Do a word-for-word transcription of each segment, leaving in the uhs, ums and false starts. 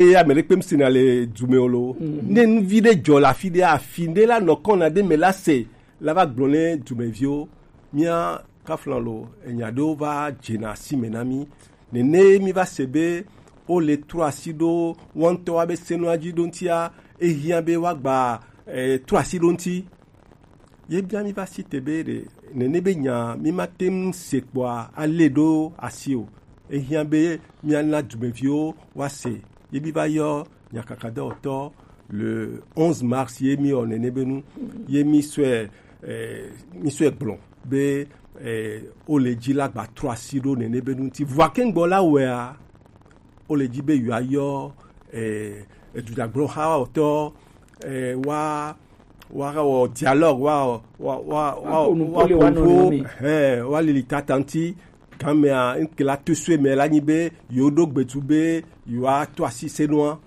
Eye ame ɖe kpe mi sena le du me o lo. Ne nuvi ɖe dzɔ le afi ɖe, afi ɖe la nɔ kɔna ɖe me la se la va gblɔ ne dumeviwo. Mía kaflan lo, enya ɖewo va dzena asi me na mí. Nene mi va se be wo le trɔ asi ɖo woawo ŋutɔ wa be senua dzi ɖo ŋutia, ehiã be woagba eh, trɔ asi ɖo ŋuti. Ye bia mi va si te be ɖe nene be nya mi ma te ŋu se kpɔa ale ɖo asi o. Ehiã be miana dumeviwo woase. Ye mi va yɔ nyakakadɔwɔtɔ le onze mars ye mi wɔ nene be nu ye mi sɔe eh, mi sɔe gblɔ be eh, wo le dzi la gba trɔ asi ɖo nene be nu ŋuti. Vɔa ke ŋgbɔ la wɔea, wo le dzi be yewoayɔ eh, edudzagblɔxawɔtɔ eh, wa wa wɔ dialogue wa wa wa wa Wa ƒo nu wa kple wo ƒo nu anɔnɔewo me. Hɛ wa lili tata ŋuti. Gamea ŋke la to sue me la nyi be yewo ɖo gbetu be yewoa to asi senua.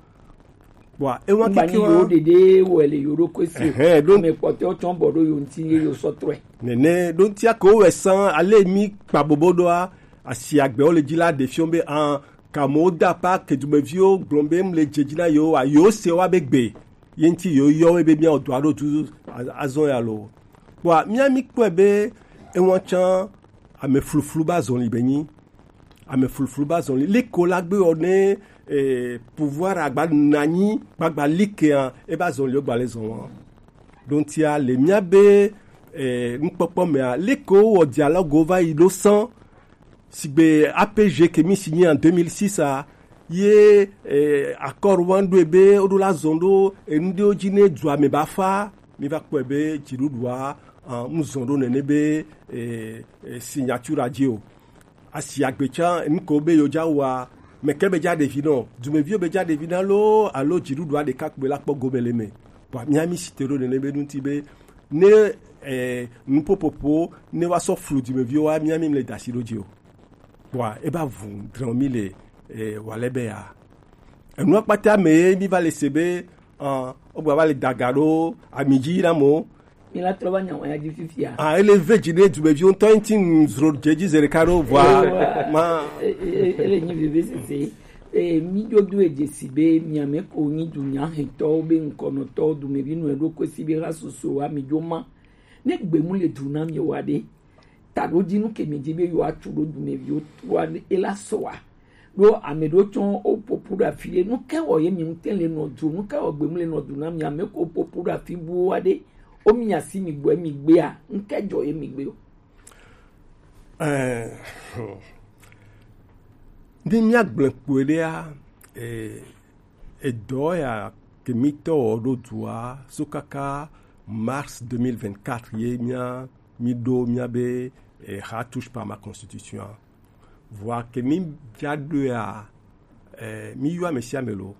Kpɔa ewa Ŋgba nyi keke yewo wa ɖeɖe wɔ le yewo ɖokui si o. Ɛhɛn, ɖo Ame kpɔtɔewo tsɔ bɔ ɖo yewo ŋuti ye yewo sɔ trɔe. Nene ɖo ŋutia ke wowɛ sã ale mi kpa bobo ɖoa asi agbewo le dzi la ɖe fiɔ be an kamewo da pa ke dumeviwo gblɔ be mle dze dzi na yewo wa yewo se wa be gbe ye ŋuti yewo yɔ wo be miawɔ dɔ aɖo du a- azɔ ya lo. Kpɔa mía mi kpɔe be ewa tsã ame fluflu ba zɔli be nyi ame fluflu ba zɔli liko la gbe wɔ ne eh, pouvoir agba nanyi gbagba likea e ba zɔli o gba le zɔn wa. Ɖo ŋutia le mía be eh, nukpɔkpɔ mea liko wɔ dialogue va yi ɖo sã sigbe A P G ke mi si nyi en deux mille six a ye eh, accord wan ɖo be o ɖo la zɔn ɖo enu ɖewo dzi ne dua me ba fa mi va kpɔe be dziɖuɖua ah, mu zɔn ɖo nene be eh, eh, signature dzi o. Asi agbe tsã enu ko be yewo dza wɔa meke be dza ɖevi nɔ dumeviwo be dza ɖevi na loo alo dziɖuɖua ɖeka kpɔe la kpɔ gome le me. Bua mía mi si te ɖo nene be ŋuti be ne eh, nuƒoƒoƒo ne wa sɔ flu dumeviwo wa mía mi mle da asi ɖo dzi o. Bua e ba vu drɔn mi le eh, wa le be ya enua kpata me ye mi va le se be ah, o gba va le daga ɖo ami dzi na mo. Mi la trɔ va nya wɔn ya dzi fifia. Ah, ele ve dzi ɖe dumeviwo ŋutɔ ŋuti ŋu zro dze dzi ze ɖeka ɖo vɔa Ewa. Ma E- e- e- ele nyi veve sese. E, mi ɖo do edze si be miame ko nyi dunya hɛntɔwo be ŋkɔnɔtɔwo dumevi nɔ eɖo koe si be ha soso wa mi ɖo ma. Ne gbe mu le du na mi wa ɖe, taɖodzi nu ke mi dzi be yewoatu ɖo dumeviwo toa ela sɔa ɖo ame ɖewo tsɔ woƒoƒu ɖe afi ɖe nu ke wɔ ye mi ŋute le nɔ du nu ke wɔ gbemu le nɔ du na mi ame ko ƒoƒu ɖe afi buwo wa ɖe wo mi asi mi gbɔe mi gbea nu ke dzɔ ye mi gbe o. Eh, ne míagblẽ kpɔe ɖea, eh, edɔ ya ke mítɔ wɔ ɖo dua so kaka mars deux mille vingt-quatre ye mía mí ɖo mía be eh, ha touche pas ma constitution. Vɔa ke mí via ɖoea, eh, mí yɔ ame sia ame lo,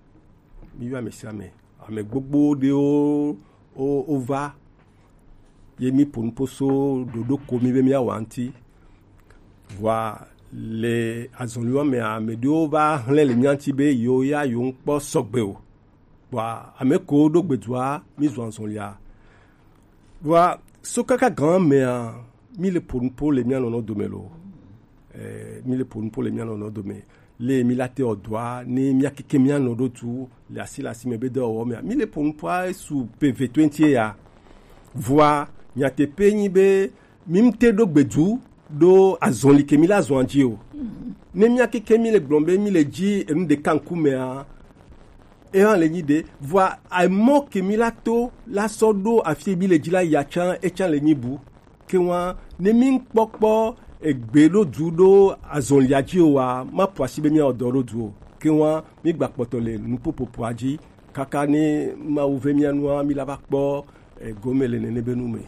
mí yɔ ame sia ame. Ame gbogbo ɖewo wo, wo va ye mí ƒo nuƒo so ɖoɖo ko mí be míawɔ ŋuti. Vɔa le azɔliwo mea, ame ɖewo va hlẽ le mía ŋuti be yewo ya yewo ŋkpɔ sɔgbe o. Vɔa ame ko ɖo gbedua, mí zɔ azɔlia. Vɔa so kaka gã mea, mí le ƒo nuƒo le mía nɔnɔ dome lo. Eh, mí le ƒo nuƒo le mía nɔnɔ dome. Le mí la te ɔdɔa, ne mía keke mía nɔ ɖo tu le asi le asi me be dɔwɔwɔ mea. Mí le ƒo nuƒoa su pe ve twenty ya. Vɔa nyateƒe nyi be mí ŋute ɖo gbedu ɖo azɔli ke mí la zɔn dzi o. Ne mía keke mí le gblɔm be mí le dzi enu ɖeka ŋkumea, eya le nyi ɖe. Vɔa emɔ ke mí la to la sɔ ɖo afi mí le dzi la ya tsã, etsã le nyi bu. Ke wa ne mí ŋkpɔkpɔ egbe ɖo du ɖo azɔlia dzi o wa, ma ƒo asi be mía wɔ dɔ ɖo du o. Ke wa mí gba kpɔtɔ le nuƒoƒoƒoa dzi kaka ne Mawu ve mía nua mí la va kpɔ egome le nene be nu me.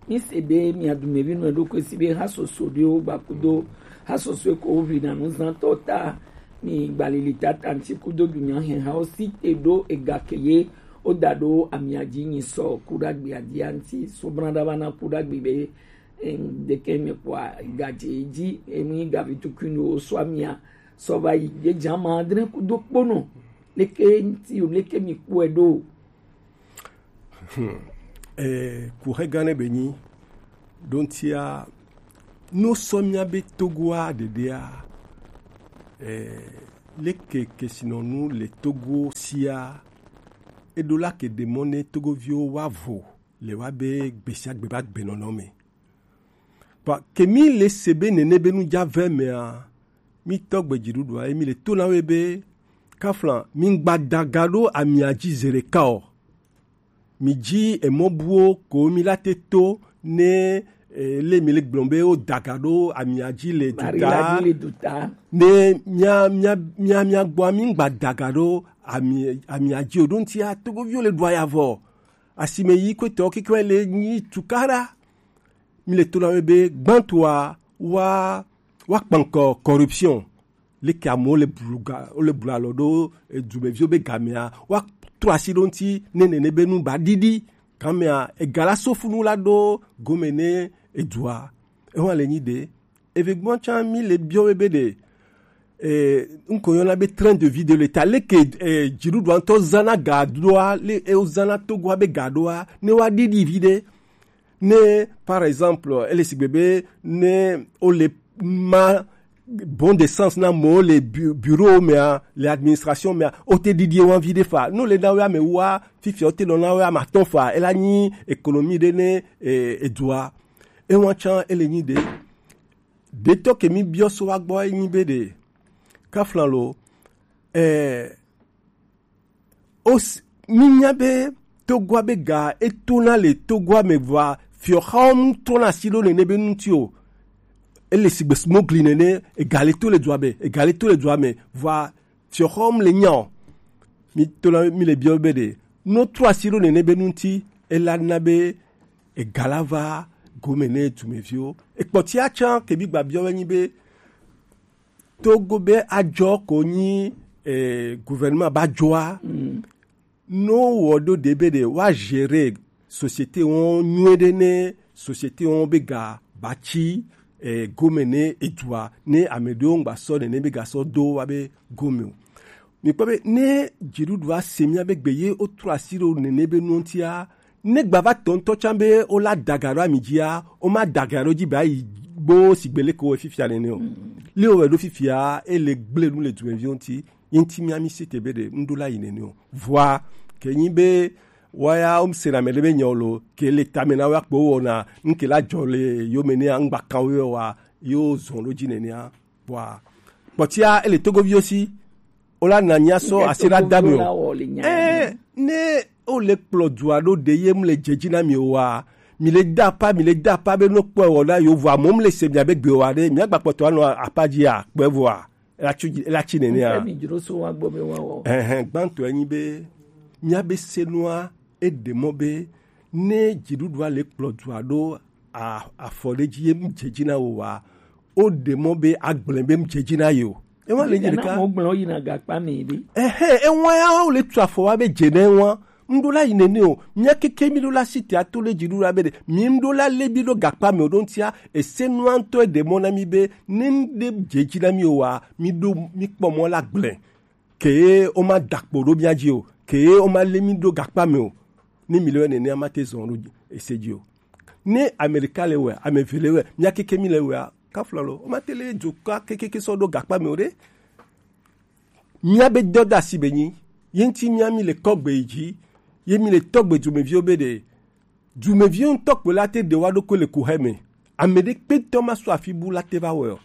Mi se be mia dumevi nɔ ɖokui si be ha soso ɖewo gba kudo ha soso ko ʋli na nuzãtɔ ta mi gbalili tata ŋuti kudo dunya hɛhawo si te ɖo ega ke ye wo da ɖo amia dzi nyi sɔ kuɖagbe adia ŋuti so bla ɖa va na kuɖagbe be em, ɖeke me kpɔa gadze dzi emi gavi tukui no so amia sɔ va yi ɖe dza ma adre kudo kpono leke ŋuti o leke mi kpɔe ɖo. Hmm. Eh, kuxe gã ɖe be nyi ɖo ŋutia no sɔ mía be Togoa ɖeɖea eh, Leke kesinɔnu le Togo sia, eɖo la ke ɖe mɔ ne Togoviwo wa vo le wa be gbesiagbe ba gbenɔnɔ me. Bon, ke mi le se be nene be nu ja vɛ mea, mi tɔgbe dziɖuɖua ye mi le to na we be kafla mi ŋgba daga ɖo amia dzi ze ɖeka o. Mi dzi emɔ buwo ko mi la te to ne eh, le mi le gblɔm be wo daga ɖo amia dzi le Mari la duta dzi le duta. Ne mia mia mia mia gbɔ mi ŋgba daga ɖo ami amia dzi o ɖo ŋutia Togoviwo le ɖua ya vɔ asime yi kwetɔ kikɛ le nyi tukara mi le to na we be gbãtɔa wa wa kpankɔ corruption leke amewo le blu ga wo le blu alɔ ɖo edumeviwo be gamea wa trɔ asi ɖo ŋuti ne nene be nu ba ɖiɖi gamea ega la so funu la ɖo gome ne edua ewa le nyi ɖe eve gbɔ tsã mi le biɔ we be ɖe eh, ŋkɔ yɔna be train de vie de l'état leke eh, dziɖuɖua ŋutɔ zana ga ɖoa le ewo zana togoa be ga ɖoa ne wa ɖiɖi vi ɖe ne par exemple ele sigbe be ne o le ma bon de sens na mo le bu- bureau mea le administration mea o te ɖiɖi wa vi ɖe fa no le na we ame wa fifia o te nɔ na we ame atɔ̃ fa ela nyi économie ɖe ne eh, edua ewa tsã ele nyi ɖe ɖetɔ ke mi biɔ so wa gbɔ enyi be ɖe kafla lo eh, Os, mínya be Togoa be ga etona le Togoa me vɔa fiɔxawo ŋutɔna asi ɖo nene be ŋuti o. Ele sigbe smogli nene, ega le to le dua me, ega le to le dua me vɔa fiɔxawo le nya o. Mi tona mi le biɔ be ɖe no trɔ asi ɖo nene be ŋuti ela na be ega la va gome ne dumeviwo. Ekpɔtia tsã ke bi gba biɔ be nyi be Togo be ajɔ ko nyi eh, gouvernement ba jɔa no wɔ ɖo ɖe be ɖe wa gérer société wɔn nyuie ɖe ne société wɔn be ga ba tsi eh, gome ne edua ne ame ɖewo ŋgba sɔ nene be ga sɔ do wa be gome o. Mi kpɔ be ne dziɖuɖua se mia be gbe ye wotrɔ asi ɖo nene be nuwo ŋutia ne gbava tɔ ŋutɔ tsã be wola daga ɖo ami dzia woma daga ɖo dzi be ayi gbo sigbe leke wowɔe fifia nene o li wowɔe ɖo fifia ele gble nu le dumeviwo ŋuti ye ŋuti mia mi si te be ɖe ŋɖo la yi nene o vɔa ke nyi be woya womsena ame ɖe be nyawo lo ke le tame na woya kpo wowɔna ŋke la dzɔ le yome nea ŋgba kan wo yɔ wa yo zɔn ɖo dzi nenea Kpɔa, kpɔtia ele togoviwo si, wola na nya sɔ asi la da mi o. Ɛɛ, ne wole kplɔ dua ɖo ɖe ye mu le dze dzi na mi o wa, mi le da apa, mi le da apa be no kpɔ wɔ na yewo vɔ amewo mu le se mia be gbe wa ɖe, mia gba kpɔtɔ anɔ apa dzi a kpɛ vɔ a, ela tsi ela tsi nene a. Ɛhɛn, gbãtɔ enyi be mia be senua eɖe mɔ be ne dziɖuɖua le kplɔ dua ɖo afɔ ɖe dzi ye mu dze dzi na wo wa, o ɖe mɔ be agblẽ be mu dze dzi na ye o. Ewa le nye ɖeka. Mo gblẽ yina gakpa mi ɖi. Ehe, ewa ya wo le tu afɔ wa be dze ne wa. Ŋɖo la yi nene o. Mia keke mi ɖo la si te ato le dzi ɖo la be ɖe. Mi ŋɖo la le bi ɖo gakpa mi o ɖo ŋutia. Ese nua ŋutɔ ɖe mɔ na mi be ne ŋɖe dze dzi na mi o wa. Mi ɖo mi kpɔ mɔ la gblẽ. Ke o ma da kpo ɖo mia dzi o. Ke o ma le mi ɖo gakpa mi o. Ne mi le nenea ma te zɔn ɖo ese dzi o. Ne Amerika le wɛ, ame eve le wɛ, mia keke mi le wɛa, kafla lo, o ma te le dzo ka kekeke sɔ ɖo gakpa mi o ɖe. Mia be dɔ da si be nyi, ye ŋuti mia mi le kɔgbe yi dzi, ye mi le tɔgbe dumeviwo be ɖe, dumeviwo ŋutɔ kpo la te ɖe wa ɖokui le kuxɛ me. Ame ɖe kpe ŋutɔ ma sɔ afi bu la te va wɛ o.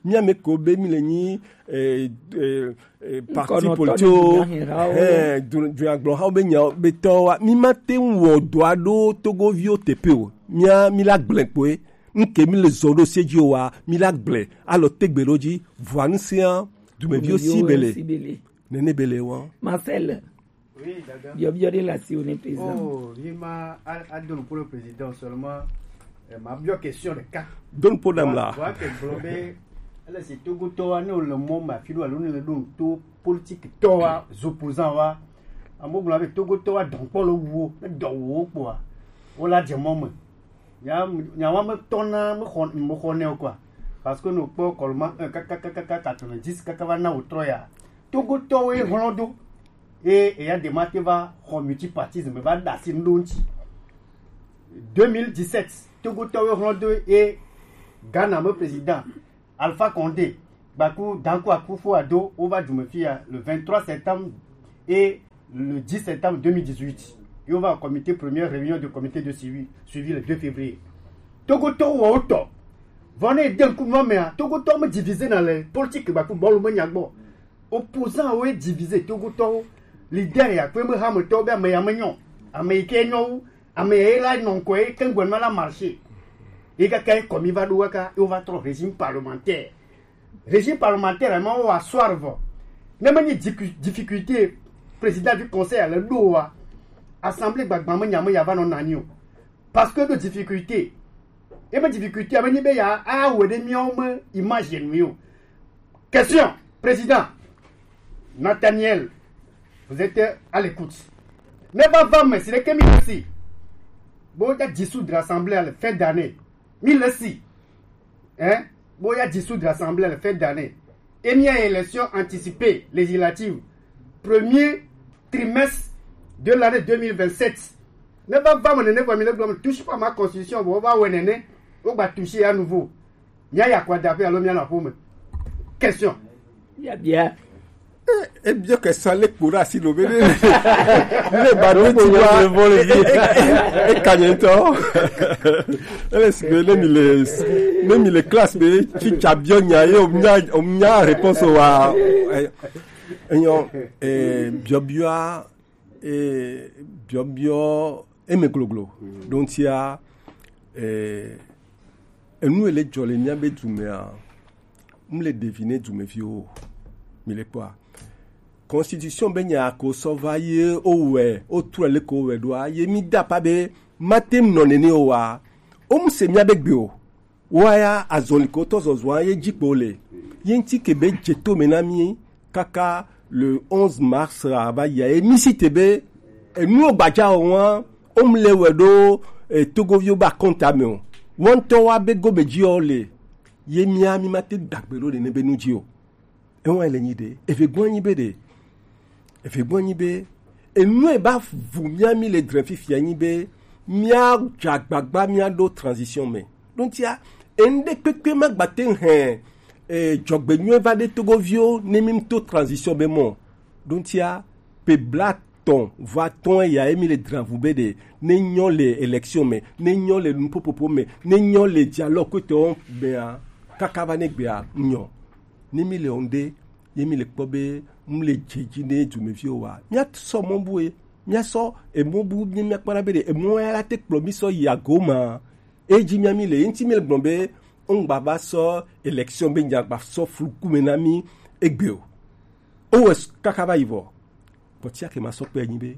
Mia me ko be mi le nyi eh, eh, eh, parti politique o eh, du- dunyagblɔhawo be nyawo be tɔwa mi ma te ŋu wɔ dɔ aɖo togoviwo teƒe o mia mi la gblẽ kpoe ŋke mi le zɔ ɖo se dzi o wa mi la gblẽ alɔ tegbe ɖo dzi vɔa ŋusẽa dumeviwo si be le nene be le wa. Marcel, biɔbiɔ ɖe le asiwò ne président. Oh, mi ma a- ado nuƒo le président seulement eh, ma biɔ question ɖeka. Do nuƒo nam la. Vɔa ke gblɔ be ele si togotɔwa ne wole mɔ ma fi ɖo alo ne le ɖo nuto politique tɔwa, opposant wa, amewo gblɔ be togotɔwa dɔnkpɔ le wuwo ne dɔ wuwo kpoa wola dze mɔ me. Nya nya wa me tɔna me xɔ me xɔ ne o quoi. Parce que no kpɔ kɔlɔma un kaka kaka kaka quatre-vingt-dix kaka va na wòtrɔ ya. Togotɔwoe hlɔ̃ do. Eye eya ɖe ma te va xɔ multipartisme va ɖe asi nu ɖo ŋuti. Deux mille dix-sept, Togotɔwoe hlɔ̃ do ye Ghana me président Alpha Condé Gbaku Danku Akufo-Addo, on va du Mefia le vingt-trois septembre et le dix septembre deux mille dix-huit. Et on va au comité, première réunion du comité de suivi, suivi le deux février. Togo to wo to. Vone den ku mo me a. Togo to me divisé dans les politiques, Gbaku bolu me nyagbo. Opposant wo divisé, Togo to. Leader ya kwe me ha me to be me ya me nyo. Ame ke nyo. Ame la non ko e kengwe ma la marché. Et quand il commis va doit, et on va trop régime parlementaire. Régime parlementaire, mais on va soir. Même une difficulté, président du conseil, le do wa. Assemblée, gbagba me nyame ya va non nanio. Parce que de difficulté. Et ma difficulté, ame ni be ya, ah, ouais, des millions, imagine, mieux. Question, président. Nathaniel, vous êtes à l'écoute. Ne va pas me, c'est que mille aussi. Bon, il y a dissoudre l'Assemblée à la fin d'année. Mille aussi. Hein? Bon, il y a dissoudre l'Assemblée à la fin d'année. Et il y a élection anticipée, législative. Premier trimestre de l'année deux mille vingt-sept. Ne va pas me, ne va me, ne touche pas ma constitution, bon, on va, ouais, ne, on va toucher à nouveau. Mia ya kwa dape alo mia na ƒome. Question. Bia bia. Ebio ke sa le kpo ɖe asi lo be ne ne ba do ti wa e ka nye ŋutɔ. Ele si be ne mi le ne mi le classe be tsitsa biɔ nya ye o nya o nya réponse wa. Enyo biɔbiɔa biɔbiɔ eme gloglo. Donc tia enu ele dzɔ le míabe dumea, mu le ɖevi ne dumeviwo o. Mi le kpɔa, constitution be nya ko sɔ va ye o wɛ o trɔ le ko wɛ ɖoa ye mi da pa be mate nɔ nene o wa o mu se míabe gbe o. Wa ya azɔli ko tɔ zɔzɔa ye dzi kpo le ye ŋti ke be dze to me na mi kaka le onze mars a va yia ye mi si te be enu gbadza o wa o mu le wɛ ɖo e togoviwo ba kɔnta me o. Wɔntɔ wa be gome dzi o le ye mia mi ma te dagbe ɖo ɖe ne be nu dzi o. Ewa le nyi ɖe eve gbɔ nyi be ɖe eve gbɔ nyi be enu e ba vu mia mi le dre fifia nyi be mia dza gbagba mia ɖo transition me. Ɖo ŋtia enu ɖe kpekpe ma gba te hɛn e dzɔgbenyuie va ɖe togoviwo ne mi to transition be mɔ. Ɖo ŋtia pe bla tɔn va tɔn ya emi le dravu be ɖe ne nyɔ le élection me ne nyɔ le nupopopo me ne nyɔ le dialogue kpetɔ mea kaka va ne gbea nyɔ. Ne mi le ŋde ye mi le kpɔ be mu le dze dzi ne dumeviwo wa mia sɔ mɔ bu e mia sɔ emɔ bu mi mia kpɔna be ɖe emɔ ya la te kplɔ mi sɔ yi ago ma. Edzi mia mi le ye ŋuti mi le gblɔ be ŋgba va sɔ élection be nya gba sɔ fluku me na mi egbe o. Owɛ kaka va yi vɔ. Kpɔtia ke ma sɔ kpe nyi be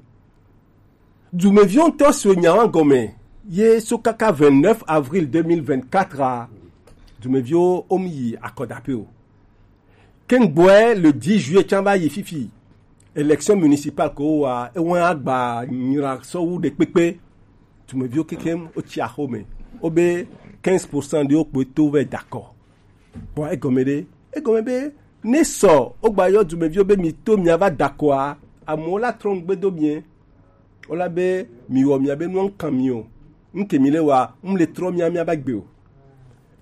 dumeviwo ŋutɔ so nya wa gɔme ye so kaka vingt-neuf avril deux mille vingt-quatre a dumeviwo wo mu yi akɔdaƒe o. Kengboɛ le dix juillet tsã va yi fifi élection municipale ko wa ewa agba nyra sɔ wu ɖe kpekpe. Dumeviwo kekem wotsi axome wobe quinze pour cent ɖewo kpoe to vɛ dakɔ. Bon egɔme ɖe egɔme be ne sɔ wogba yɔ dumeviwo be mi to miava dakɔa amewo la trɔ ŋugbe do mie. Wola be mi wɔ mia be nua ŋkan mi o. Ŋke mi le wa ŋle trɔ mia mia ba gbe o.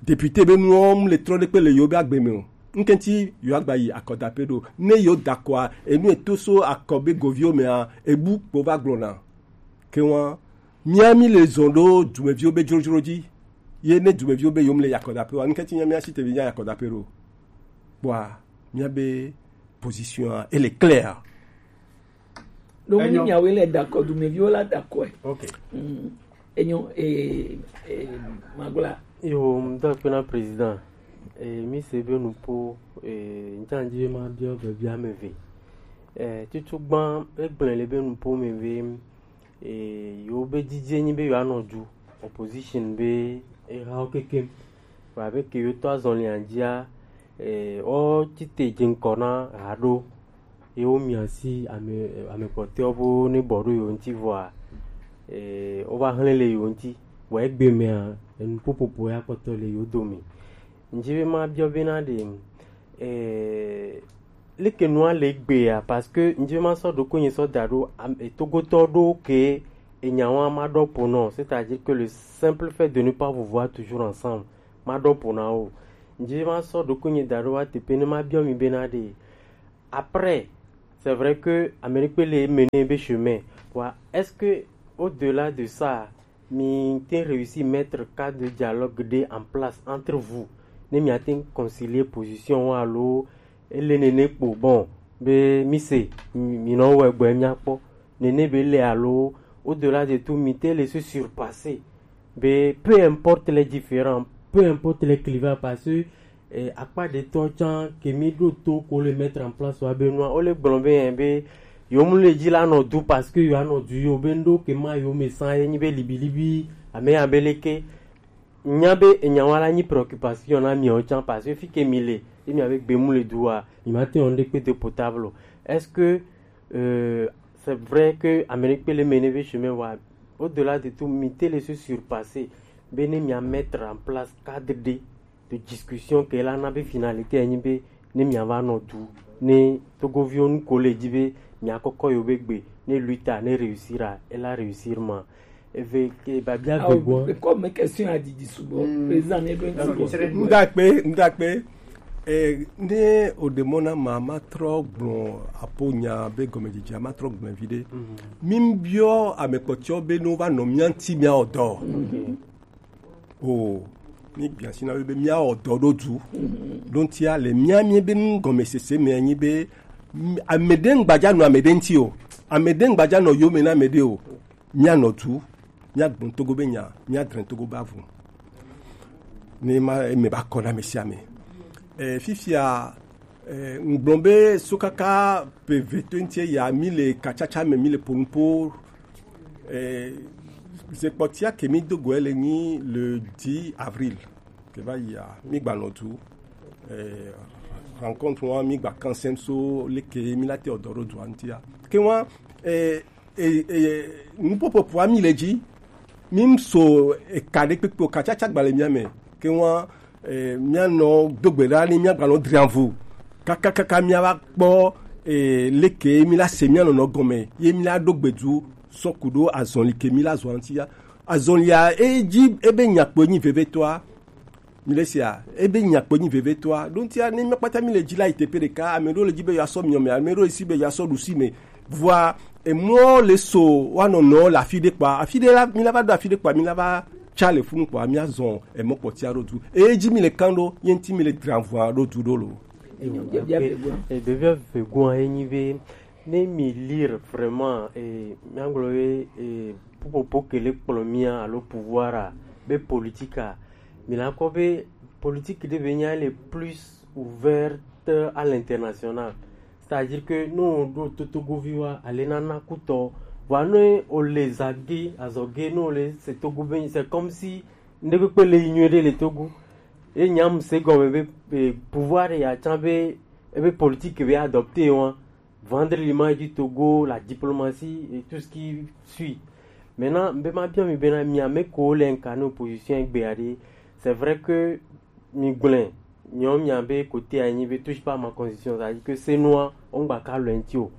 Député be nuwo ŋle trɔ ɖe kpe le yewo be agbe me o. Ŋke ŋti yewo agba yi akɔdaƒe ɖo ne yewo dakɔa enu eto so akɔ be goviwo mea ebu kpo va gblɔna. Ke wa mia mi le zɔn ɖo dumeviwo be dzrodzro dzi ye ne dumeviwo be yewo ŋle yi akɔdaƒe wa ŋke ŋti mia mia si te be mia yi akɔdaƒe ɖo. Kpɔa mia be position a ele clair. Donc ni miawoe le dakɔ dumeviwo la dakɔe. Ok. Mm. Enyo eh, eh, magula. Yo mdɔ kpe na président eh, mi se be nupo eh, ŋtsanji be ma biɔ be bia me ve eh, tutu gbã egblẽ le be nupo me ve eh, yo be didie nyi be yo anɔ du opposition be ehawo kekem. Vɔ abe ke yotɔ azɔlia dzia, e, wotsite dze ŋkɔ na haɖo ye womia asi ame ame kpɔtɔewo bo ne bɔ ɖo yewo ŋuti vɔa, e, wova hlẽ le yewo ŋuti. Vɔ egbe mea, enu ƒoƒoƒo ya kpɔtɔ le yewo dome. Ŋdzi be mabiɔ bena ɖe, e, leke nua le egbea, parce que ŋdzi be masɔ ɖokuinye sɔ da ɖo am- e, togotɔ ɖo ke enya wa maɖɔ po nɔ, c'est-à-dire que le simple fait de ne pas vous voir toujours ensemble, maɖɔ po na wo. Nje ma sɔ ɖokuinye da ɖo wa teƒe ne ma biɔ mi bena ɖe. Après, c'est vrai que Amérique le mener be chemin. Wa, est-ce que au-delà de ça, mi te réussi mettre cadre de dialogue de en place entre vous? Ne mi a te concilier position wa alo ele nene kpo bon be mi se mi no we gbe mi akpɔ. Nene be le alo au-delà de tout mi te le se surpasser. Mais peu importe les différends, peu importe les clivages, parce que eh, akpa de to tsan ke mi ɖo to ko le mettre en place wa be nua o le gblɔ be yɛn be yo mu le dzi la nɔ du parce que yo anɔ du yo be ndo ke ma yo me san ye nyi be libilibi ame ya be le ke nya be enya wa la nyi préoccupation na mi o tsan parce que fi ke mi le e mi a be gbe mu le du wa mi ma te on de pe de potable. Est-ce que euh, c'est vrai que Amérique peut le mener vers chemin wa au-delà de tout mi te le se surpasser be ne mi a mettre en place cadre de de discussion ke la na be finalité enyi be ne mi a va nɔ du ne togoviwo nu ko le dzi be mi a kɔkɔ yo be gbe ne luta ne réussir a e la réussir ma eve ke babia gbegbɔ. Comme question a didi sugbɔ président ne do nti. Ndakpe ndakpe. Eh, ne o demɔ na ma ma trɔ gblɔ apo nya be gɔmedzedzea ma trɔ gblɔ vi ɖe. Mi biɔ ame kpɔtɔ be no va nɔ mia ŋti mia ɔdɔ. O mi gbia si na be mia ɔdɔ ɖo du. Ɖo ŋtia le mia mi be nu gɔmesese me anyi be ame ɖe ŋgbadza nɔ ame ɖe ŋti o. Ame ɖe ŋgbadza nɔ yome na ame ɖe o. Mia nɔ du, mia gbɔn togo be nya, mia dre togo be avu. Ne ma eme ba kɔ na ame sia ame. Eh, fifia eh, ŋgblɔ be sokaka pe veto ŋtie ya mi le katsatsa me mi le ponupo. Eh, zekpɔtia ke mi dogo ele nyi le dix avril ke va yia mi gba nɔ du. Eh, rencontre wa mi gba kansem so leke mi la te ɔdɔ ɖo dua ŋtia ke wa eh, eh, eh, nupopopoa mi le dzi mi ŋso eka ɖe kpekpe o katsatsa gba le mia me ke wa eh, mia nɔ dogbe ɖa ni mia gba nɔ drianvu kakakaka mia va kpɔ eh, leke mi la se mia nɔnɔ gɔme ye mi la ɖo gbedu sɔ ku ɖo azɔli ke mi la zɔ ŋtia azɔlia e dzi ebe nyakpo nyi vevetɔa. Mi le sia ebe nyakpo nyi vevetɔa ɖo ŋtia ne mi kpata mi le dzi la yi teƒe ɖeka ame ɖewo le dzi be yeasɔ miɔ me ame ɖewo le si be yeasɔ ɖusi me vɔa emɔ le so wa nɔnɔ le afi ɖe kpa afi ɖe la mi la va ɖo afi ɖe kpa mi la va tsa le funu kpa mi azɔ emɔ kpɔtia ɖo du eye dzi mi le kan ɖo ye ŋti mi le dra vɔa ɖo du ɖo lo. Ebebia vegoa ye nyi be ne mi lire vraiment eh, miagblɔ be eh, ƒuƒoƒo ke le kplɔ mia alo pouvoir a be politique a mi la kɔ be politique ɖe be nya le plus ouverte à l'international. C'est-à-dire que no ɖo totogoviwa ale nana kutɔ vɔa ne o le zage azɔge no le se togo be c'est comme si ŋɖe kpekpe le yi nyuie ɖe le togo. Ye nyam se gɔme be eh, pouvoir ya tsã be ebe politique be adopté wa vendre l'image du Togo, la diplomatie et tout ce qui suit. Maintenant, mbe ma bien mi bena mi ame ko le incarner opposition egbe ade. C'est vrai que mi gblẽ nyɔ mi abe côté anyi be touche pas ma constitution, c'est-à-dire que c'est noir on gba ka le ntio.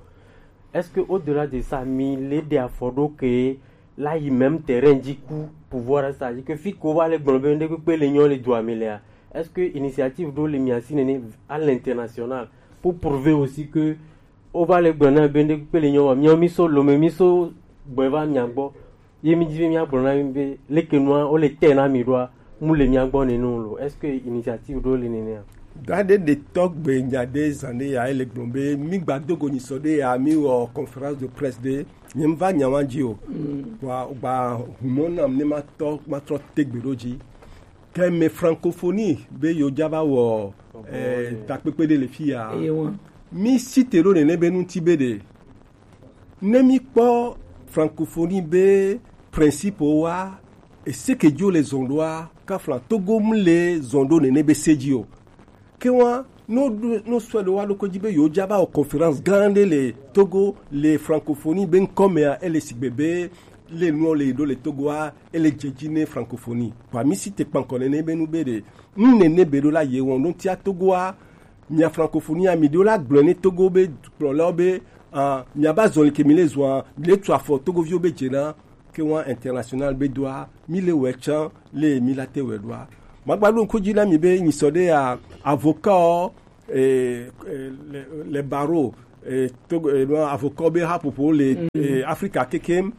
Est-ce que au-delà de ça mi le de afɔɖo ke la yi même terrain du coup pouvoir, c'est-à-dire que fi ko va le gblɔ be ŋɖe kpekpe le nyɔ le dua me lea, est-ce que initiative ɖo le mi asi nene à l'international pour prouver aussi que o va le gblɔ na be ŋɖe kpekpe le nyɔ wa miɔ mi so lome mi so gbɔ va mia gbɔ ye mi dzi be mia gblɔ na mi be leke nua o le te na mi ɖoa mu le mia gbɔ nene o lo? Est-ce que initiative ɖo le nene a? Da ɖe ɖe tɔgbe nya ɖe zan ɖe ya ele gblɔ be mi gba dogo nyisɔ ɖe ya mi wɔ conférence de presse ɖe nye va nya wa dzi o. Wa gba humɔ nam ne ma tɔ ma trɔ tegbe ɖo dzi. Ke me francophonie be yo dza va wɔ eh, takpekpe ɖe le fi ya. Mi si te ɖo nene be ŋuti be ɖe ne mi kpɔ francophonie be principe wa ese ke dzo le zɔn ɖoa kafla togo mu le zɔn ɖo nene be se dzi o. Ke wa no ɖo no sɔ ɖe wa ɖo ko dzi be yo dza va wɔ conférence gã ɖe le togo le francophonie be ŋkɔ mea ele sigbe be le nuɔ le ɖo le togoa ele dze dzi ne francophonie kpa mi si te kpankɔ nene be nu be ɖe nu nene be ɖo la ye wɔn ɖo tia togoa mia francophonie ami ɖo la gblɔ ne togo be kplɔlawo be ah, mia ba zɔli ke mi le zɔa le tu afɔ togoviwo be dze na ke wa international be doa mi le wɛ tsan le mi la te wɛ ɖoa Magba ɖo ŋku dzi na mi be nyisɔ ɖe ya, avocat, eh, eh, le, le baro, eh, to, eh, no, avocat be haƒoƒo le, eh, Afrika kekem.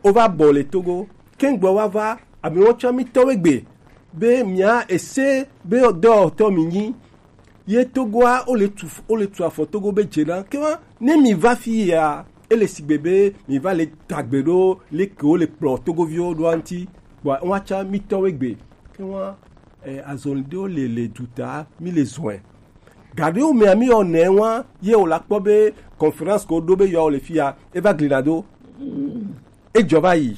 Wova bɔ le Togo. Kengbe wava, amewo tsɔ mi tɔwe gbe be mia ese be dɔwɔtɔ mi nyi. Ye Togoa, wole tu, wole tu afɔ Togo be dze na. Ke wa, ne mi va fi ya, ele sigbe be mi va le tagbe ɖo, le ke wole kplɔ Togoviwo ɖo anti. Bɔ, wa tsɔ mi tɔwe gbe. Ke wa, eh, azɔli ɖewo le, le duta, mi le zɔe. Gaɖewo mea mi yɔ nɛ wa, ye wòle akpɔ be conférence ko ɖo be yɔ le fi ya, eva gli na do. Edzɔ va yi.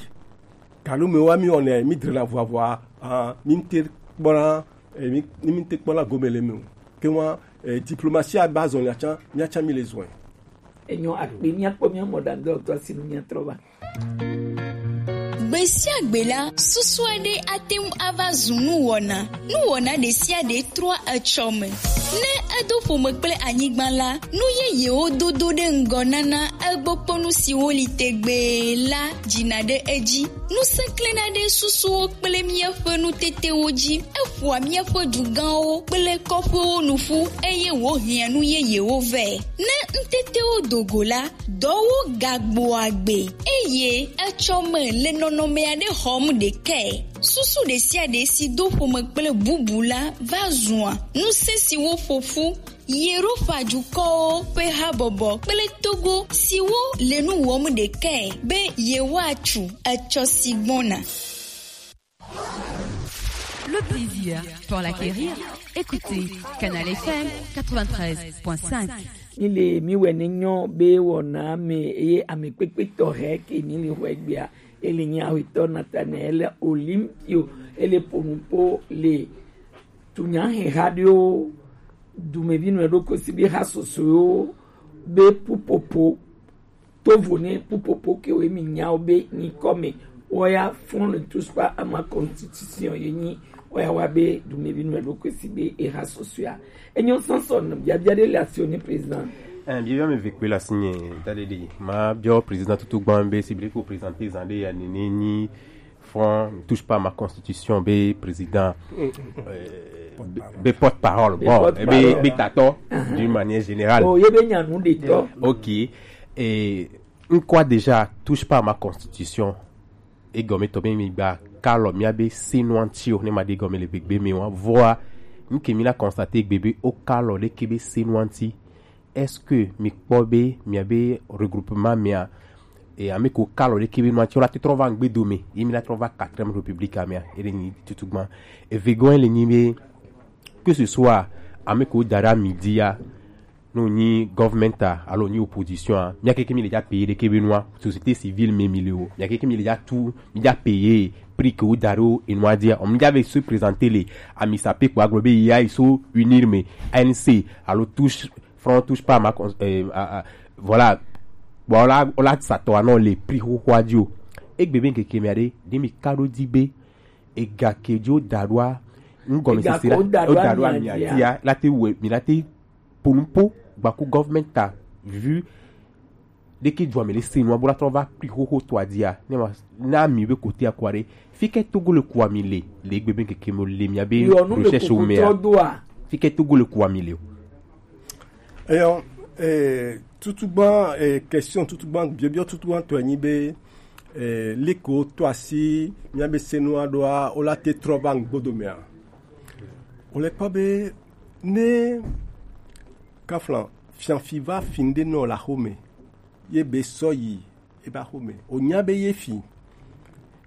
Gaɖewo me wa mi yɔ nɛ, mi drena vɔavɔa, ah, mi te kpɔna, eh, mi, mi te kpɔna gome le me o. Ke wa, eh, diplomatie a ba zɔn ya tsa, mi tsa mi le zɔe. Enyo akpe, míakpɔ mía mɔ ɖaŋdɔtɔ si nu míatrɔ va. Gbe sia gbe la, susu aɖe ate ŋu ava zu nuwɔna. Nuwɔna ɖe sia ɖe trɔa etsɔ me. Ne edo ƒome kple anyigba la, nu yeyewo dodo ɖe ŋgɔ nana egbokponu siwo li tegbee la dzina ɖe edzi. Ŋusẽ klẽna ɖe susuwo kple míaƒe nutetewo dzi. Eƒoa míaƒe dugãwo kple kɔƒewo nu ƒu, eye wòhiã nu yeyewo vɛ. Ne ŋutetewo do go la, dɔwo gagbɔa gbe, eye etsɔme le nɔnɔme aɖe xɔm ɖekae. Susu ɖe sia ɖe si do ƒome kple bubu la va zua ŋusẽ siwo ƒo ƒu Yeropa dukɔwo ƒe habɔbɔ kple Togo siwo le nu wɔm ɖekae be yewoatu etsɔ si gbɔna. Le plaisir pour l'acquérir. Écoutez Canal F M quatre-vingt-treize point cinq. Mi le mi wɛ ne nyɔ be wɔna me eye ame kpekpe tɔ hɛ ke mi le hwɛ gbea. Ele nyi awetɔ Nathanael Olympio. Ele ƒo nu ƒo le tunyahe ha ɖewo, dumevi nɔ ɖo kosi be ha sosoewo be pupopo. Tovo ne pupopo ke wo mi nyawo be nyikɔ me, woya fond ne touche pas à ma constitution ye nyi, woya wa be dumevi nɔ ɖo kosi be eha sosoea. Enyo sanson biabia ɖe le asi o ne président. Eh, biabia me ve kpe le asi nye, ta ɖe ɖi. Ma biɔ président tutu gban be si bile ko président zan ɖe ya nene nyi fond ne touche pas à ma constitution be président, euh, be, be porte-parole. Be bon, porte-parole. Be, be tatɔ, d'une manière générale. Oh, ye be nyanu de tɔ. Ok. Et, n quoi déjà touche pas à ma constitution. Egɔme tɔ be mi gba kalɔ mia be senu anti o, ne ma de gɔme le gbegbe mi wa. Voa, n ke mi la constater gbe be o kalɔ ɖe ke be senu anti. Est-ce que mi kpɔ be mia be regroupement mia, e, ame ko kalɔ ɖe ke be nua tsi la te trɔ va ŋgbe dome, ye mi la trɔ va quatrième république mea, e le nyi tutu gban. Evegɔn le nyi be, que ce soit ame ko da ɖe ami dia, no nyi government a, alo nyi opposition a, mia keke mi le ja payer ɖe ke be nua, société civile me mi le o, mia keke mi le ja tu, mi ja payer prix ke wo da ɖo enua dia, o mi ja ve se présenter le, ami sape kpo aglo be ya iso unir me, A N C, alo touche Front touche pas à ma cons-, euh, à, à, voilà. Bon, on l'a, on l'a sa to anɔ le prix xoxoa dzi o. Egbe be ŋkeke mia ɖe, ɖe mi ka ɖo di be ega ke dzo da ɖoa, ŋgɔme sese la, o da ɖoa mia dia, la te wɛ, mi la te ponu po gbaku government ta vu ɖe ke dzua me le se nua bo la trɔ va prix xoxo to adia. Ne ma na mi be kote akwa ɖe, fi ke Togo le kua mi le, le egbe be ŋkeke mo le mia be recherche o mea. Fi ke Togo le kua mi le o. Eyɔ, eh, tutugban, eh, question tutugban, biɔbiɔ tutugban tɔe nyi be, eh, liko to asi mia be senu aɖoa, o la te trɔ va ŋgbodo mea. O le kpɔ be ne kaflan fianfi va fi ŋɖe nɔ la xome, ye be sɔ yi eba xome. O nya be ye fi.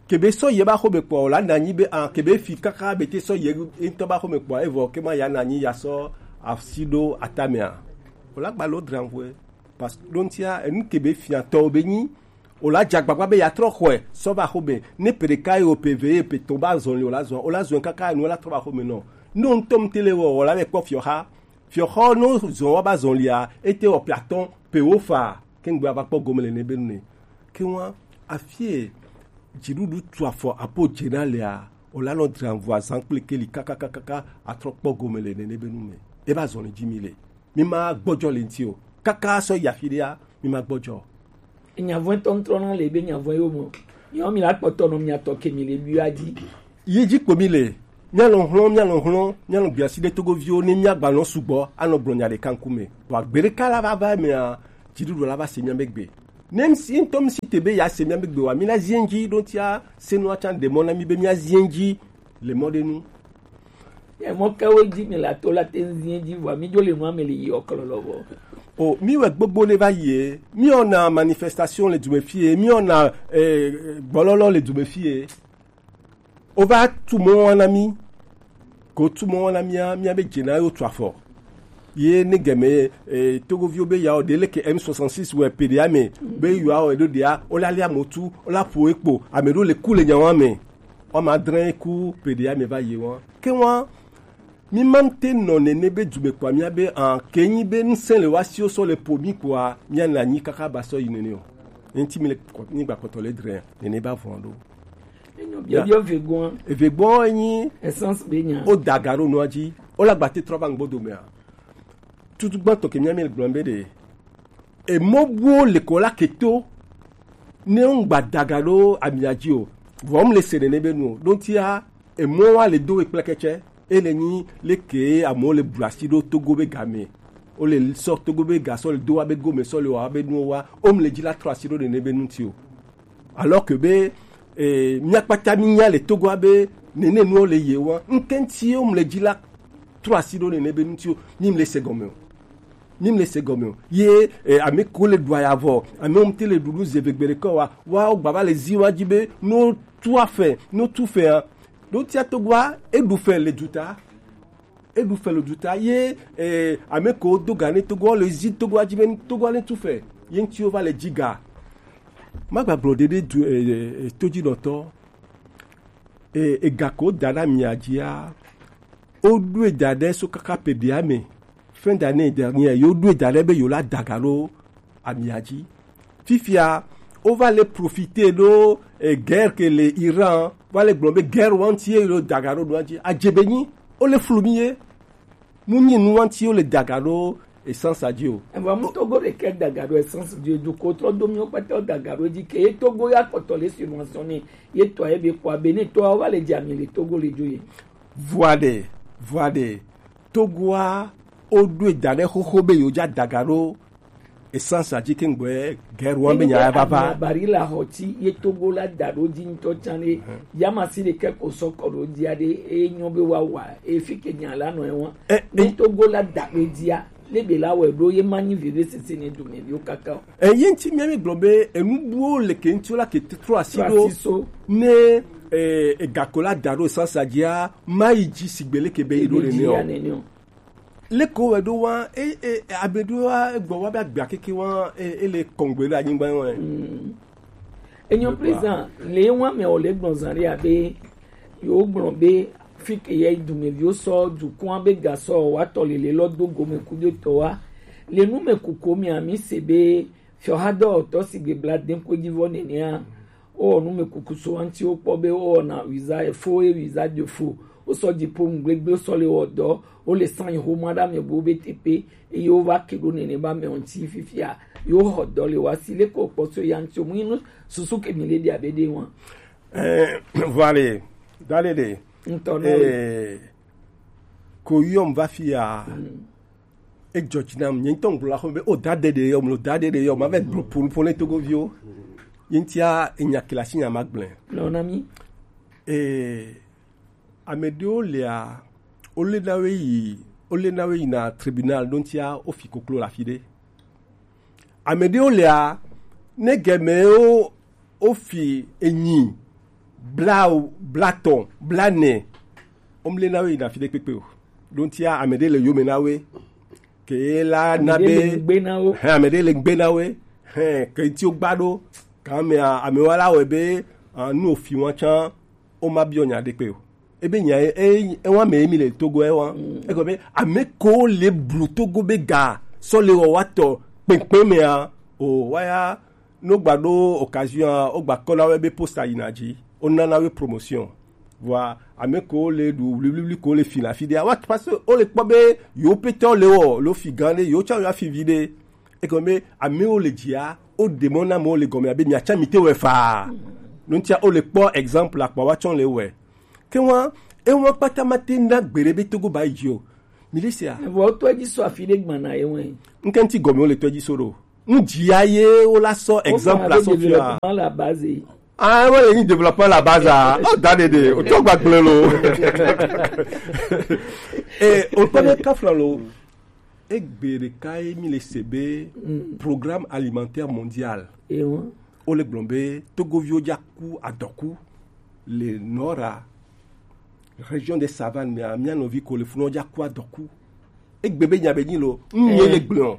Kebe sɔ ye ba xome kpɔ, o la nanyi be a, kebe fi kaka be te sɔ ye ŋutɔ ba xome kpɔ, evɔ ke ma ya nanyi ya sɔ asi ɖo atamea. O la gba lo dranvɔe. Parce que ɖo ŋutia, enu kebe fia tɔ be nyi, o la dza gbagba be ya trɔ xɔe, sɔ va xome. Ne pe ɖeka ye o pe ve ye pe tɔ ba zɔn li, o la zɔn, o la zɔn kaka enu la trɔ va xome nɔ. No ŋutɔ ŋute le wɔ, o la be kpɔ fiɔxa. Fiɔxɔ no zɔn wa ba zɔn lia, ete wɔ pe atɔ, pe wo fa. Kengbe ava kpɔ gome le ne be nu ne. Ke wa afie dziɖuɖu tu afɔ apo dze na lea, o la nɔ dranvɔ azan kple keli kakakakaka atrɔ kpɔ gome le ne ne be nu me. E va zɔn le dzi mi le. Mi ma gbɔdzɔ le ŋuti o. Kaka sɔ yi afi ɖea, mi ma gbɔdzɔ. Nyavɔe tɔntrɔ na le be nyavɔe yo mo. Yo mi la kpɔtɔ nɔ mi atɔ ke mi le bi wa dzi. Yi dzi kpo mi le. Míanɔ hlɔ̃, míanɔ hlɔ̃, míanɔ gbiasi ɖe togoviwo ne míagbanɔ sugbɔ anɔ gblɔ nya ɖeka ŋkume. Vɔ agbele ka la va va emea, dziɖuɖu la va se mía be gbe. Ne ŋsi ŋutɔ ŋsi te be ya se mía be gbe wa, mi na zie ŋdzi ɖo tia se nua tsa ɖe mɔ na mi be mía zie ŋdzi le mɔ ɖe nu. Emɔ kewo dzi mi la to la te ŋu zie ŋdzi vɔa mi dzo le nua me le yi ɔklɔlɔ vɔ. O mi wɛ gbogbo ne va yi e, mi ɔna manifestation le dume fie, mi ɔna eh, gbɔlɔlɔ le dume fie. Wova tu mɔ wa na mi. Ko tu mɔ wa na mia, mia be dze na yo tu afɔ. Ye ne gɛmɛ eh, togoviwo be yawo ɖe leke M soixante-six wɛ pe ɖe ame be yawo eɖo ɖea wola lia motu wola ƒo ekpo ame ɖo le ku le nyawa me. Wɔma adre ku pe ɖe ame va yi wa ke wa. Mi ma te nɔ nene be dume kpɔ mia be an ke nyi be ŋsɛ le wa siwo sɔ le po mi kpɔa mia na nyi kaka ba sɔ yi nene o. Enti mi le kɔ- mi gba kɔtɔ le dre nene ba vɔn ɖo. Enyo, biabia vegoa. Eve gbɔ enyi Essence be nya. O daga ɖo nua dzi. O la gbate trɔ va ŋgbo domea. Tutu gbãtɔ ke mia mi le gblɔm be ɖe. Emɔ buwo le kɔ la keto. Ne ŋgba daga ɖo amia dzi o. Vɔ mu le se nene be nu o. Ɖo tia emɔ wa le do we kple kɛtsɛ. E le nyi le ke amewo le blu asi ɖo togo be game. O le sɔ togo be ga sɔ le do wa be gome sɔ le wa be nuwo wa. O mu le dzi la trɔ asi ɖo nene be nu ti o. Alors que be eh, mía kpata mi nya le togoa be nene nuwo le ye wa ŋkɛnti wo mle dzi la trɔ asi ɖo nene be ŋuti wo mi mle se gɔme o. Mi mle se gɔme o. Ye eh, ame ko le ɖu aya vɔ ame wo mte le ɖuɖu zeve gbe ɖe kɔ wa wa wo gbava le zi wa dzi be no tu afɛ no tu fɛ a ɖo tia togoa eɖu fɛ le duta. Eɖu fɛ le duta ye eh, ame ko do ga ne togoa le zi togoa dzi be togoa ne tu fɛ ye ŋuti wo va le dzi ga. Magbagblɔ ɖeɖe du eh, eh, todzinɔtɔ eh, ega ko da ɖe amia dzia woɖoe da ɖe so kaka peɖea me fin d'année dernière yewo ɖoe da ɖe be yewo la daga ɖo amia dzi. Fifia wova le profite ɖo eh, guerre ke le Iran va le gblɔ be guerre wanti ye yewo daga ɖo ɖoa dzi adze be nyi wo le flu mi ye. Nu nyi nu wanti wo le daga ɖo essence dzi o. Evɔ mu togo ɖeke daga ɖo essence dzi o dukɔ trɔ do miwo kpata daga ɖo dzi ke ye togo ya kɔtɔ le subventionné ye tɔ ye be kɔ abe ne tɔ wa le dzi ami le togo le dzo ye. Vua ɖe vua ɖe togoa wo ɖo da ɖe xoxo be yewo dza daga ɖo essence dzi ke ŋgbɛ guerre wan be nya ya va va. Bari la xɔ ti ye togo la da ɖo dzi ŋutɔ tsan ɖe yamasi ɖeke ko sɔ kɔ ɖo dzia ɖe eye nyɔ be wa wa efi ke nya la nɔ ewa. Ne togo la da ɖo dzia le be la wɔ ɖo ye ma nyi veve sese ne dumeviwo kaka o. Eye ŋuti mía mi gblɔ be enu buwo le ke ŋuti la ke trɔ asi ɖo ne eh, egako la da ɖo essence dzia ma yi dzi sigbe le ke be yi ɖo nene o. Leko wɛ ɖo wa e e abe ɖo wa egbɔ wa be agbea keke wa e e le kɔngbe ɖe anyigba wa. Enyo président le wa me o le gbɔn zan ɖe abe yo gbɔn be fi ke ye dumeviwo sɔ dukɔn be gasɔ wa tɔ lele lɔ do gome ku do tɔ wa le nu me kuko mi ami se be fiɔ ha dɔ tɔ sigbe bla den ko dzi vɔ nenea. Wowɔ numekuku so ŋuti wokpɔ be wowɔna visa efo ye visa de fo. Wosɔ dziƒo ŋugblegble wosɔ le wɔ dɔ wole san yi xoma ɖe ame buwo be teƒe eye wova ke ɖo nene be ame ŋuti fifia yewo xɔ dɔ le woasi leke wokpɔ so ya ŋuti mu inu susu ke mi le ɖi abe ɖe wa. Eh, vale dale de ŋutɔ na eh, ko yɔm va fi ya. Edzɔ dzi nam nye ŋutɔ ŋgblɔ la xɔme be o da ɖe ɖe yɔ mlo da ɖe ɖe yɔ ma vɛ gblɔ ƒo nuƒo ne togoviwo. Ye ŋutia enya ke le asi nya ma gblẽ. Lɔ na mi. Ee, ame ɖewo lia wole na wo yi wole na wo yina tribunal ɖo ŋutia wofi koklo le afi ɖe. Ame ɖewo lia ne gɛmɛwo wofi enyi bla blatɔ blanɛ womle na wo yina fi ɖe kpekpe o. Ɖo ŋutia ame ɖe le yome na wo ke la na be hɛn ame ɖe le gbe na wo hɛn ke ŋuti wogba ɖo. Kan amea amewa la wɔe be ah, nu ofi wa tsã woma biɔ nya ɖe kpe o. Ebe nya e- e- ewa me mi le togo ewa eko be ame ko le blu togo be ga sɔ le wɔ wa tɔ kpekpe mea o waya no gba ɖo occasion o gba kɔ na wɛ be posta yina dzi o nana wɛ promotion. Vɔa ame ko le ɖu wliwliwli ko le fi na fi ɖe awa parce que o le kpɔ be yewo petɔ le wɔ lo fi gã ɖe yewo tsã yewo afi vi ɖe. Egɔme be amewo le dzia wo ɖe mɔ na amewo le gɔme abe miatsa mi te wɛ faa. Nuntia o le kpɔ exemple akpa wa tsɔ le wɛ. Ke wa Ewa kpata ma te na gbere be Togo ba yi o. Mi le se a. Vɔ tɔ ji so afi de gbana ye wɛn. N kɛ n ti gɔme wo le tɔ ji so ɖo. N ji ya ye wo la sɔ exemple la sɔ fi a. La base. Ah, wo le ni développement la base a. O da de de. O tɔ gba gble lo. Eh, o tɔ de kafla lo. Egbe ɖeka ye mi le se be Programme Alimentaire Mondial. Ewa. Wo le gblɔ be Togoviwo ja ku adɔku le nɔra région des Savanes mea, mia nɔvi ko le funɔ ja ku adɔku. Egbe be nya be nyi lo, n ye le gblɔ.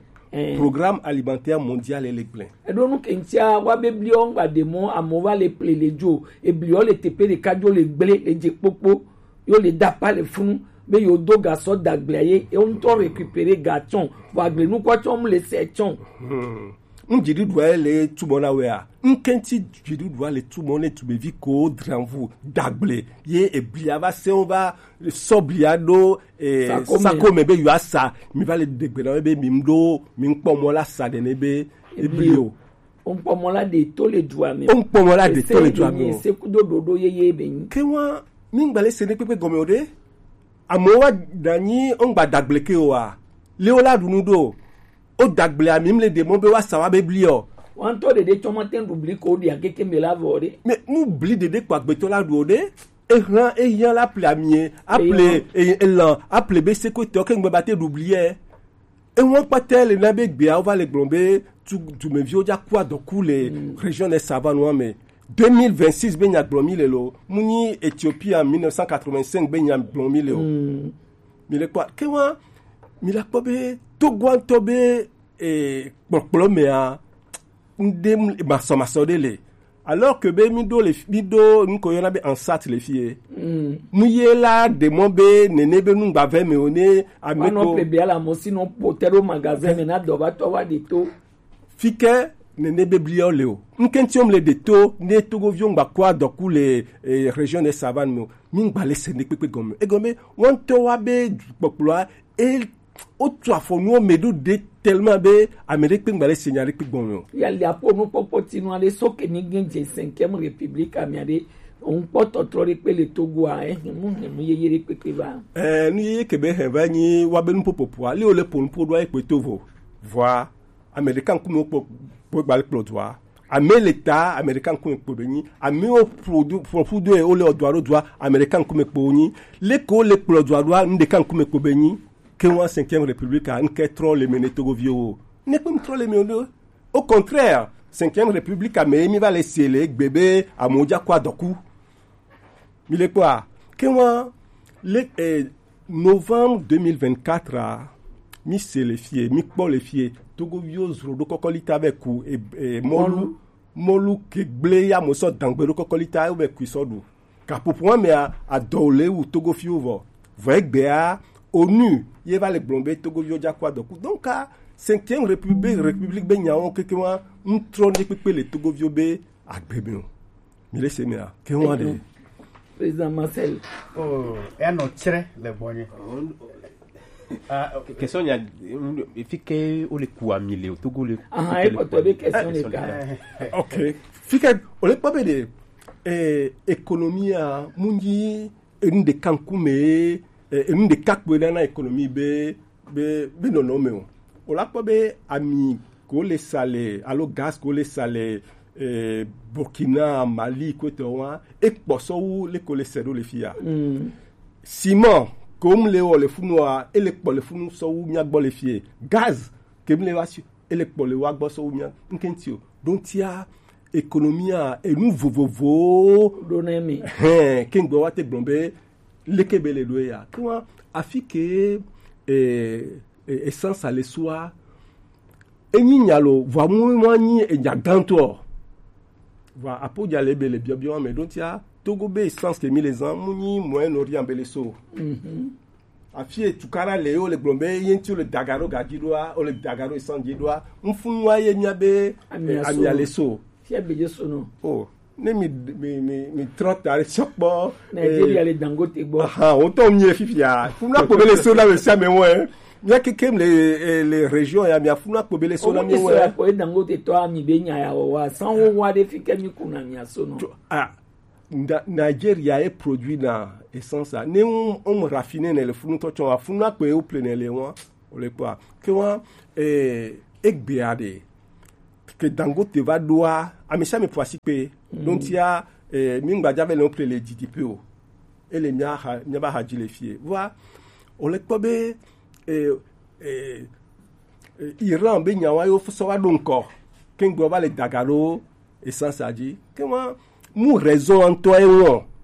Programme Alimentaire Mondial le gblɔ. Eɖo nu ke ŋutia wa be bliɔ ŋgba de mɔ amewo va le ple le dzo, ebliɔ le teƒe ɖeka dzo le gble le dze kpokpo. Yo le da pa le funu be yo do ga sɔ dagblea ye, yo ŋutɔ récupérer ga tsɔn, vɔ agble nukua tsɔn mu le se tsɔn. Hmm. Ŋ dziɖuɖua ye le tumɔ na wea? Ŋ kɛnti dziɖuɖua le tumɔ ne tumevi ko dranvu dagble ye eblia va se wo va sɔ blia ɖo eh, sako me be yo asa mi va le degbe na be mi ɖo mi ŋkpɔ mɔ la sa ɖe ne be ebli o. Ŋkpɔ mɔ la ɖe to le dua me. Ŋkpɔ mɔ la ɖe to le dua me. Se kudo ɖoɖo yeye be nyi. Ke wa mi ŋgba le se ne kpekpe gɔme o ɖe. Amewo wa danyi ŋgba dagble ke o wa. Le wo la ɖu nu ɖo. O dagble ami mi le ɖe mɔ be wa sa wa be bli o. Wa ŋutɔ ɖeɖe tsɔ ma te ɖu bli ko ɖi akeke me la vɔ ɖe. Me mu bli ɖeɖe kpɔ agbetɔ la ɖu o ɖe. Ehlan eyan la ple amie, aple elan, aple be sekotɔ ke ŋgbe ba te ɖu bli e. Ewan kpata le na be gbea wo va le gblɔ be tu dumeviwo ja ku adɔku le région des Savanes me. Deux mille vingt-six be nya gblɔ mi le lo, mu nyi Ethiopie en mille neuf cent quatre-vingt-cinq be nya gblɔ mi le o. Mi le kpɔ ke wa mi la kpɔ be togoantɔ be eh, kpɔkplɔ mea ŋɖe masɔmasɔ ɖe le. Alors que be mi ɖo le mi ɖo nu ko yɔna be ansat le fie. Nu ye la ɖe mɔ be nene be nu gbavɛ me o ne ame ko. Ƒle bia la mo si no pote ɖo magasin me na dɔ va tɔ va ɖe to. Fi ke nene be bliɔ le o. Ŋkɛnti o mle ɖe to ne togoviwo ŋgba kɔ adɔku le eh, région de savane me o. Mi ŋgba le se ne kpekpe gɔme. Egɔme wɔntɔ wa be kpɔkplɔa e Wotu afɔ nuwo me ɖo ɖe tellement be ame ɖe kpe ŋgba le se nya ɖe kpe gbɔn me o. Ya le aƒo nukpɔkpɔ tinu aɖe so ke ni gẽ dze cinquième république amia ɖe ŋkpɔ tɔtrɔ ɖe kpe le Togo a ehe mu he nu yeye ɖe kpekpe va. Ɛɛ nu yeye ke be he va nyi wa be nuƒoƒoƒoa li wo le ƒo nuƒo ɖo ayi kpe to vo vɔa ame ɖeka ŋkume wo kpɔ kpɔ gba le kplɔ dua. Ame le ta ame ɖeka ŋkume kpo be nyi. Ame wo ƒo du ƒo ƒu do ye wo le ɔdua ɖo dua ame ɖeka ŋkume kpo nyi. Leke wo le kplɔ dua ɖoa nu ɖeka ŋkume kpo be nyi. Ke wa cinquième république a ŋke trɔ le me ne togoviwo o. Ne kpe ŋtrɔ le me o. Au contraire, cinquième république a me mi va le se le egbe be amewo ja kɔ adɔku. Mi le kpɔa, ke wa le eh, novembre deux mille vingt-quatre a mi se le fie mi kpɔ le fie togoviwo zro ɖo kɔkɔlita be ku eh, eh, mɔlu mɔlu ke gble ya mo sɔ dangbe ɖo kɔkɔlita be ku sɔ ɖu. Kaƒoƒo wa mea adɔ le wu togofiwo vɔ vɔ egbea onu ye va le gblɔ be togoviwo ja kɔ adɔku donc a cinquième république république be nyawo keke wa ŋtrɔ ne kpekpe le togoviwo be agbe me o. Mi le se mea ke wa de. Président Marcel. Oh, e no chre le bonye. Ah, ok. Question ya fi ke o le ku ami le o togo le. Ah, e ko to be question le ka. Ok. Fi ke o le pa be de eh économie a munji enu ɖeka ŋkume eh, enu ɖeka kpoe na na économie be be be nɔnɔ me o. O la kpɔ be ami ko le sa le alo gaz ko le sa le eh, Burkina, Mali kpetɔ wa e kpɔ sɔ wu le ko le se ɖo le fia. Mm. Ciment ko mu le wɔ le funu wa e le kpɔ le funu sɔ wu mia gbɔ le fie. Gaz ke mu le wa si e le kpɔ le wa gbɔ sɔ wu mia ŋkɛnti o. Donc tia économie a enu vovovowo ɖo na mi. Hɛn ke ŋgbɔ wa te gblɔ be leke be le ɖo ya ke wa afi ke eh, eh, essence a le sua enyi nya lo vɔ mu mu anyi enya gãtɔ vɔ apo dza le be le biɔbiɔ me ɖo tia togo be essence ke mi le zan mu nyi moyen orient be le so. Mhm. Afi e tukara le wo le gblɔ be ye ŋti wo le daga ɖo gaji ɖoa wo le daga ɖo essence ji ɖoa ŋfunu wa ye mia be amia le so. Fia be je so no. Oh. Ne mi mi mi mi trɔ ta ɖe sɔkpɔ. Nigeria le Dangote gbɔ. Aha, wo tɔ mi fifia. Funa kpo be le so na me sia me wo e. Mia keke le eh, le région ya mia funa kpo be le so na mi wo e. Ko Dangote tɔ ami be nya ya wo wa san wo wa de fi ke mi kuna mi aso no. Ah. Nigeria e produit na essence a. Ne on, on raffine ne le funu to chon a funu akpe o ple ne le wan. O le kwa. Ke wan, eh, egbe ade. Ke Dangote va doa, a mi sa mi pwasi pe. Donc, il y a, eh, mi ngba jave le on ple le G D P o. E le mi a ha, mi a ba ha ji le fie. Wa, o le kwa be, eh, eh, eh, Iran be nyawa yo so wa do nko. Ke ngbo va le dagaro essence a ji. Ke wan, mu raison anto e won.